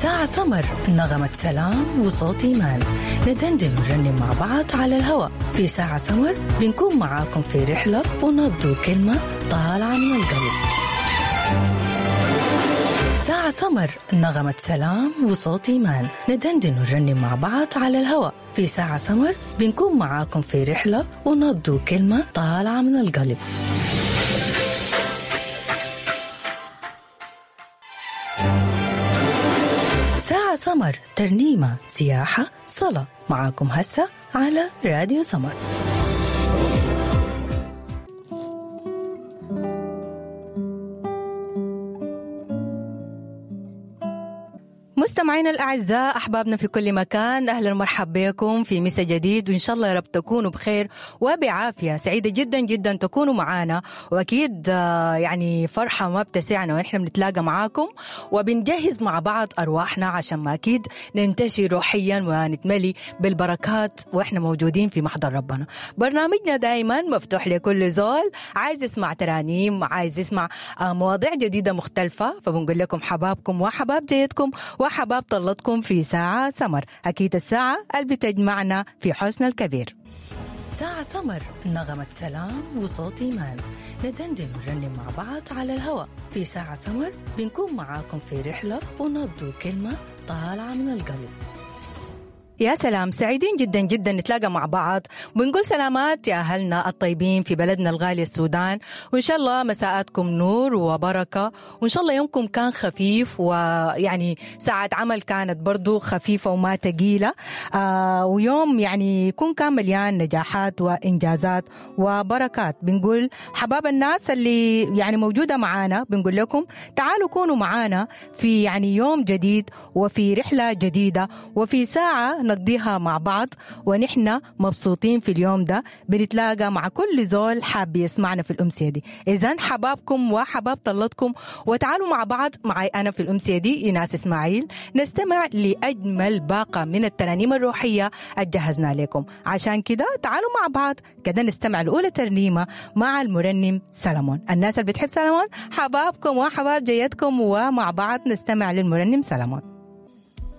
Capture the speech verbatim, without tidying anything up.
ساعة سمر، نغمة سلام وصوت إيمان، ندندن ونرنم مع بعض على الهواء. في ساعة سمر بنكون معاكم في رحلة ونبض وكلمة طالعة من القلب. ساعة سمر، نغمة سلام وصوت إيمان، ندندن ونرنم مع بعض على الهواء. في ساعة سمر بنكون معاكم في رحلة ونبض وكلمة طالعة من القلب. ساعة سمر، ترنيمة، سياحة، صلاة، معاكم هسه على راديو سمر. مستمعينا الأعزاء، أحبابنا في كل مكان، أهلا ومرحبا بكم في مسا جديد، وإن شاء الله يا رب تكونوا بخير وبعافية. سعيدة جدا جدا تكونوا معانا، وأكيد يعني فرحة ما بتسعنا ونحن بنتلاقى معاكم وبنجهز مع بعض أرواحنا عشان ما أكيد ننتشي روحيا ونتملي بالبركات وإحنا موجودين في محضر ربنا. برنامجنا دايما مفتوح لكل زول عايز يسمع ترانيم، عايز يسمع مواضيع جديدة مختلفة، فبنقول لكم حبابكم وحباب جيدكم وحباب طلتكم في ساعة سمر، أكيد الساعة اللي بتجمعنا في حوشنا الكبير. ساعة سمر، نغمة سلام وصوت إيمان، ندندن ونرنم مع بعض على الهواء. في ساعة سمر بنكون معاكم في رحلة ونبض وكلمة طالعة من القلب. يا سلام، سعيدين جدا جدا نتلاقى مع بعض، بنقول سلامات يا أهلنا الطيبين في بلدنا الغالي السودان، وإن شاء الله مساءاتكم نور وبركة، وإن شاء الله يومكم كان خفيف، ويعني ساعة عمل كانت برضو خفيفة وما تقيلة، آه ويوم يعني يكون كان مليان نجاحات وإنجازات وبركات. بنقول حباب الناس اللي يعني موجودة معانا، بنقول لكم تعالوا كونوا معانا في يعني يوم جديد وفي رحلة جديدة وفي ساعة نقضيها مع بعض، ونحن مبسوطين في اليوم ده. بنتلاقى مع كل زول حاب يسمعنا في الأمسية دي. إذن حبابكم وحباب طلتكم، وتعالوا مع بعض معي أنا في الأمسية دي إيناس إسماعيل، نستمع لأجمل باقة من الترانيم الروحية الجهزنا لكم. عشان كده تعالوا مع بعض كده نستمع لأولى ترنيمة مع المرنم سلمون. الناس اللي بتحب سلمون، حبابكم وحباب جيتكم، ومع بعض نستمع للمرنم سلمون.